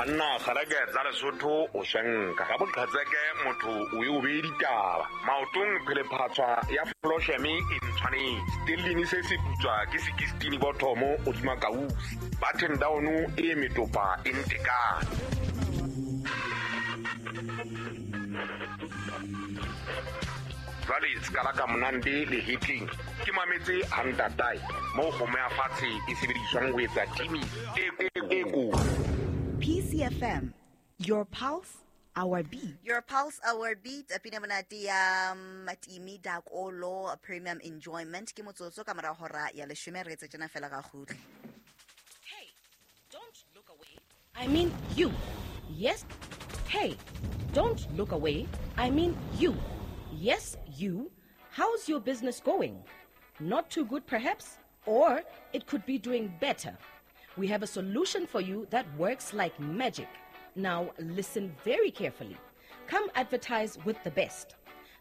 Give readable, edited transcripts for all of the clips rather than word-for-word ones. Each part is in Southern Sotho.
Banna kgaleke tsa Lesotho o shenka ka boqhetseke motho o e o bee ditaba maotong phelephatswa ya flosheme e ntshwanetse stellini se se putswa ke sekistini bothomo godima kausi button down e metopa e ntekane. Jwale sekala ka monande le hetleng ke mametse hantatae moo kgomo ya fatshe e sebediswang ho etsa timi e ko. PCFM, your pulse, our beat. Your pulse, our beat. Pina monate ya Matimi Dakolo Premium Enjoyment. Ke motsotso ka mora hora ya leshome re etse tjena fela ga kgutle. Hey, don't look away. I mean you. Yes. Hey, don't look away. I mean you. Yes, you. How's your business going? Not too good, perhaps? Or it could be doing better. We have a solution for you that works like magic. Now, listen very carefully. Come advertise with the best.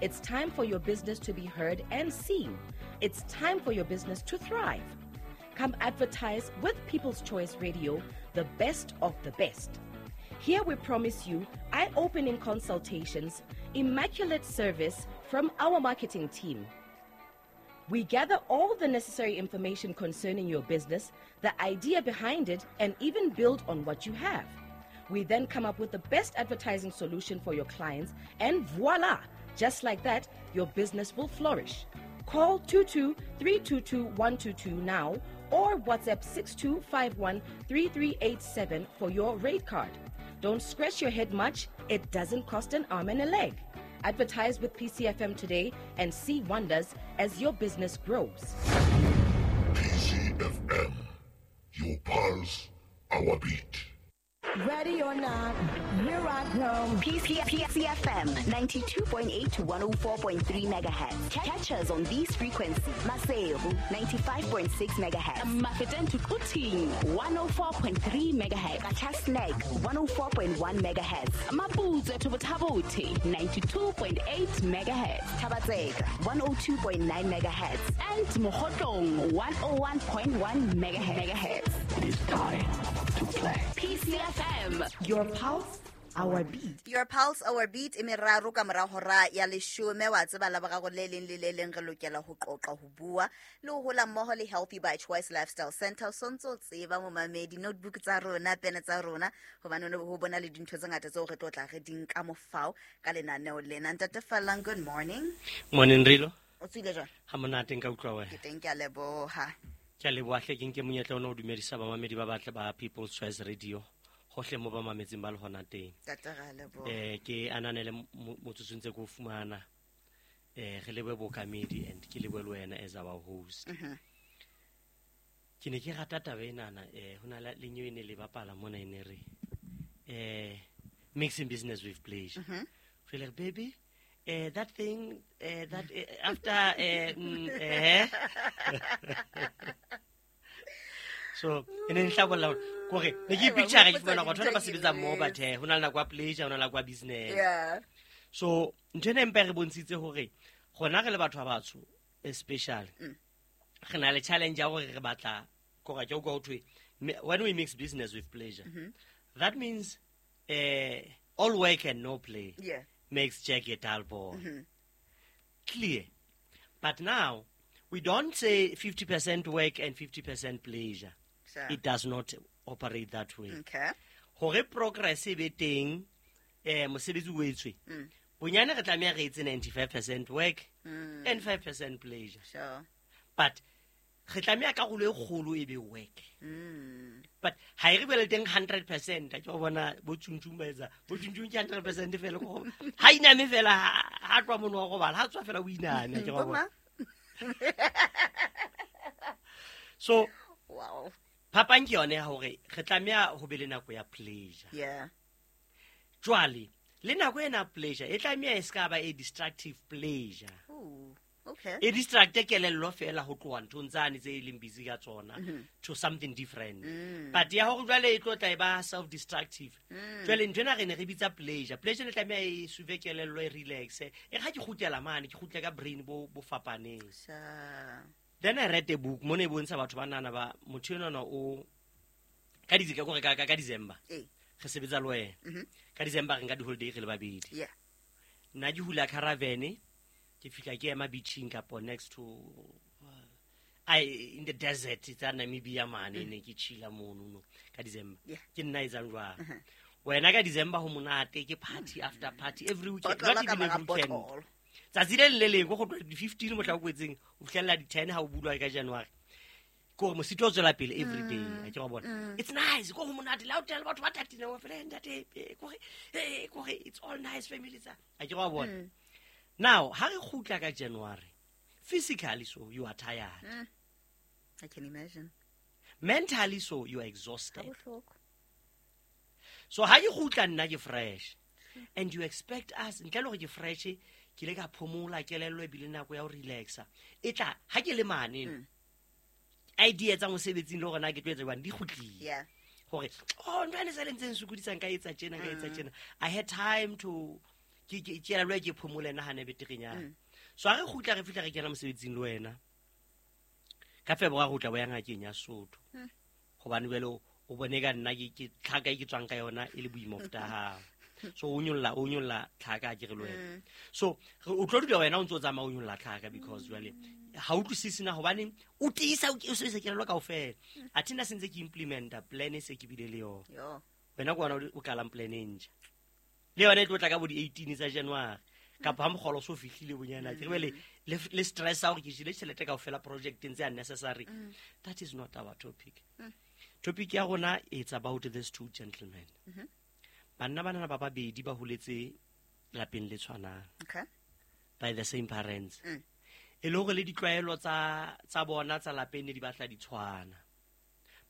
It's time for your business to be heard and seen. It's time for your business to thrive. Come advertise with People's Choice Radio, the best of the best. Here we promise you eye-opening consultations, immaculate service from our marketing team. We gather all the necessary information concerning your business, the idea behind it, and even build on what you have. We then come up with the best advertising solution for your clients, and voila! Just like that, your business will flourish. Call 22-322-122 now or WhatsApp 6251-3387 for your rate card. Don't scratch your head much. It doesn't cost an arm and a leg. Advertise with PCFM today and see wonders as your business grows. PCFM, your pulse, our beat. Ready or not, here I come. PCFM 92.8 to 104.3 megahertz. Catch us on these frequencies. Maseru 95.6 megahertz. Mafeteng to Quthing 104.3 megahertz. Qacha's Nek 104.1 megahertz. Maputsoe to Botha-Bothe 92.8 megahertz. Thaba-Tseka 102.9 megahertz. And Mokhotlong 101.1 megahertz. It is time to play. PCFM. Your pulse, our beat. Your pulse, our beat. E meraro ka mora hora ya leshome wa tseba la boraro le leng le le leng re lokela ho qoqa ho bua le ho hola mmoho le Healthy by Choice Lifestyle Center. O sontso tseba momamedi notebook tsa rona, pene tsa rona, hobane ho bona le dintho tse ngata tseo re tlo tla re di nka mofao ka lenaneo lena. Ntate Fallang, good morning. Morning, Rilo. O tswile jwang? Ha monate nka utlwa wena. Ke teng, ke a leboha. Ke a leboha hle, ke nke monyetla ona o dumedisa bamamedi ba batle ba People's Choice Radio hohle mo ba mametseng ba le hona teng. Ntate ra leboha. Ke ananele motsotsong tse ko fumana. Re lebohe bokamedi and ke lebohe le wena as our host. Ke ne ke rata taba enana, ho na le nyewe e ne le bapala mona e ne re mixing business with pleasure. Re le baby, that thing, that after so ene nhlabolla kore ne ke picture ke fumana batho ba sebetsa mo but ho na le nako ya pleasure, ho na le nako ya business. Yeah. So ntho ena empa re bontshitse hore gona re le batho ba batsho especially re na le challenge ya hore re batla kore ke go thwe when we mix business with pleasure, that means all work and no play makes Jack a dull boy. Clear. But now we don't say 50% work and 50% pleasure. Sure. It does not operate that way. Okay. Hore progress e be teng, mosebetsi o etswe. Bonyane re tlameha re etse 95% work and 5% pleasure. Sure. But re tlameha karolo e kgolo e be work. But ha e re bele teng 100%, ke bona bo tshuntsung ba etsa, bo tshuntsung ke 100% fela go. Ha iname fela ha tloha mono wa robala, ha tswa fela o iname ke bona. So wow. Phapang ke yone ya hore re tlameha ho be le nako ya pleasure. Yeah. Jwale le nako ena pleasure e tlameha e ska ba a destructive pleasure. Ooh, okay. E distracte kelello fela ho tloha nthong tsane tse leng busy ka tsona to something different. But ya hore jwale e tlo tla e ba self destructive. Jwale ntho ena re ne re bitsa pleasure. Pleasure le tlameha e suve kelello e relax. E ha ke kgutlela mane, ke kgutle ka brain bo fapaneng. Sure. Then I read a book mo ne bontsha batho ba nana ba motho enwana o ka ka December. Re sebetsa le wena. Ka December re nka di-holiday re le babedi. Yeah. Nna ke hula caravan, ke fihla ke ema beaching kapo next to I in the desert tsa Namibia mane ne ke chilla mono no ka December. Yeah. Ke nna etsang jwang. Wena ka December ho monate ke party after party every weekend. Botlolo Not ka even mora every weekend. botlolo. Tsatsi le leng le leng ko go tloha di-15 mohla o kwetseng o fihlella di-10 ha o bulwa ka January. Ke hore mosito o tswela pele every day a ke wa bona. It's nice ko ho monate le ha o tena le batho ba tatile wa fela ntate kore kore it's all nice family tsa a ke wa bona. Now ha re kgutla ka January physically so you are tired. I can imagine. Mentally so you are exhausted. Ha bohloko. So ha ke kgutla nna ke fresh and you expect us ntle le hore ke fresh ke ile ka phomola kelello ebile nako ya ho relaxa e tla ha ke le mane idea tsa mosebetsing le hore na ke tlo etsa jwang di kgutlile. Yeah. Hore oh ntho ene sa le ntseng sokodisang ka etsa tjena ka etsa tjena I had time to ke kelello ke phomole nahane beterenyana. So ha re kgutla re fihla re kena mosebetsing le wena ka February o tla bo ya ngakeng ya Sotho hobane jwale o bone ka nna ke tlhaka e ke tswang ka yona e le boima ho feta hao. So o nyolla tlhaka ke re le wena. So o tlo dula wena o ntso tsamaya o nyolla tlhaka because jwale ha utlwisisi na hobane o tiisa o sebedisa kelello kaofela. Athe nna se ntse ke implementa plan e se ke bile le yona. Yo. Wena ke wena o qalang plan e ntjha. Le yona e tlo tla ka bo di-18 tsa January. Kapa ha mokgolo so fihlile bonyana ke re le stress a hore ke jele tjhelete kaofela projecteng tse unnecessary. That is not our topic. Topic ya rona it's about these two gentlemen. Banna bana ba babedi ba holetse lapeng le tshwanang. Okay. By the same parents. E le hore le ditlwaelo tsa bona tsa lapeng ne di batla di tshwana.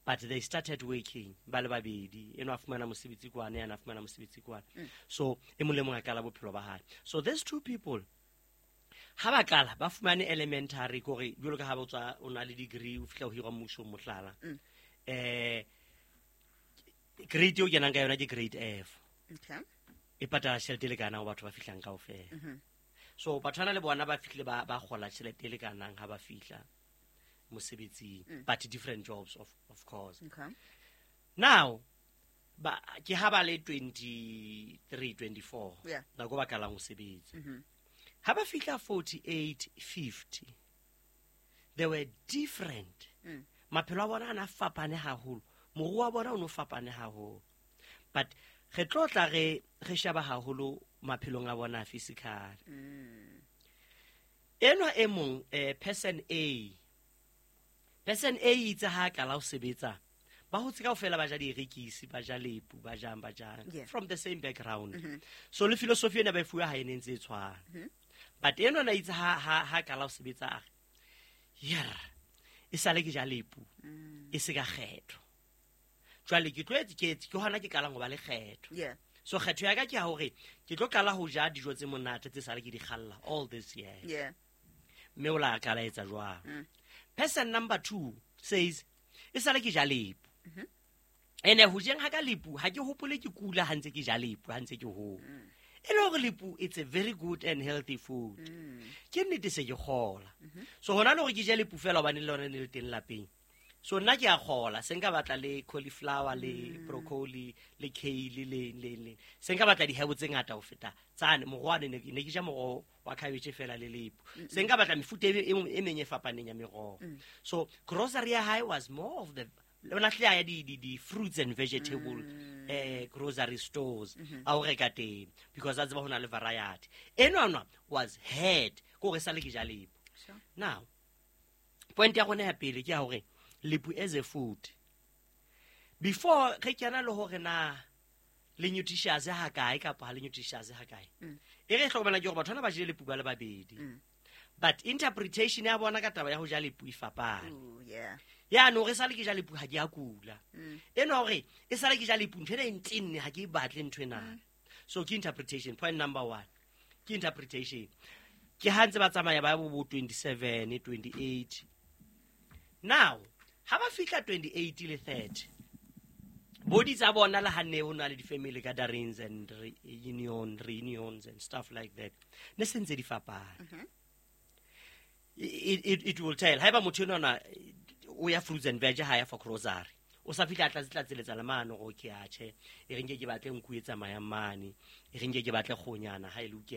But they started working ba le babedi. Eno a fumana mosebetsi kwana, yena a fumana mosebetsi kwana. So e mong le mong a qala bophelo ba hae. So these two people ha ba qala ba fumane elementary kore jwalo ka ha ba tswa o na le degree o fihla o hirwa mmusong mohlala. Grade eo kenang ka yona ke grade F. Okay. E patala tjhelete e lekanang ho batho ba fihlang kaofela. So batho bana le bona ba fihlile ba kgola tjhelete e lekanang ha ba fihla mosebetsing, but different jobs of course. Okay. Now ba ke ha ba le 23 24 Yeah. nako ba qalang ho sebetsa. Ha ba fihla 48 50 they were different. Maphelo a bona a na fapane haholo. Moruo wa bona o no fapane haholo. But re tlo tla re sheba haholo maphelong a bona physical. Enwa e mong person A. Person A itse ha qala ho sebetsa ba hotse kaofela ba ja dierekisi, ba ja lepu, ba jang Yeah. from the same background. So le philosophy ena ba e fuwa ha e ne ntse e tshwana. But enwa na itse ha qala ho sebetsa a re yer e sale ke ja lepu e se ka kgetho. Jwale ke tlo ke hona ke qalang ho ba le kgetho. Yeah. So kgetho ya ka ke ya hore ke tlo qala ho ja dijo tse monate tse sale ke di kgalla all this year. Yeah. Mme o la qala etsa jwang. Person number 2 says e sale ke ja lepu. Ene ho jeng ha ka lepu ha ke hopole ke kula ha ntse ke ja lepu ha ntse ke hola. E le hore lepu it's a very good and healthy food. Ke nnete se ke kgola. So hona le hore ke je lepu fela hobane le lona ne le teng lapeng. So nna ke a kgola se nka batla le cauliflower le broccoli le kale le se nka batla dihebo tse ngata ho feta tsane moroho ne ke ja moroho wa cabbage fela le lepu se nka batla mefuta e meng e fapaneng ya meroho. So grocery ya hae was more of the lona hle ya di fruits and vegetable grocery stores a ho reka teng because a tseba ho na le variety. Enwana was head ko re sale ke ja lepu. Sure. Now point ya rona ya pele ke ya hore lepu as a food before re kena le hore na le nutritious ha kae kapa ha le nutritious ha kae e re hlokomela ke hore batho bana ba jele lepu ba le babedi but interpretation ya bona ka taba ya ho ja lepu e fapane. Ooh, yeah. Ya no re sale ke ja lepu ha ke a kula. Eno hore e sale ke ja lepu ntho ena e ntenne ha ke e batle ntho ena. So ke interpretation point number 1 ke interpretation ke ha ntse ba tsamaya ba bo 27 28 now ha ba fihla 28 le 30 body tsa bona le hanne ho na le di-family gatherings and reunions and stuff like that ne se ntse di fapana. It will tell haeba motho enwana o ya fruits and veg ha ya for grocery O sa fihla a tlatse-tlatseletsa le mane gore okay atjhe, e re nke ke batle nku e tsamayang mane, e re nke ke batle kgonyana ha e lokela.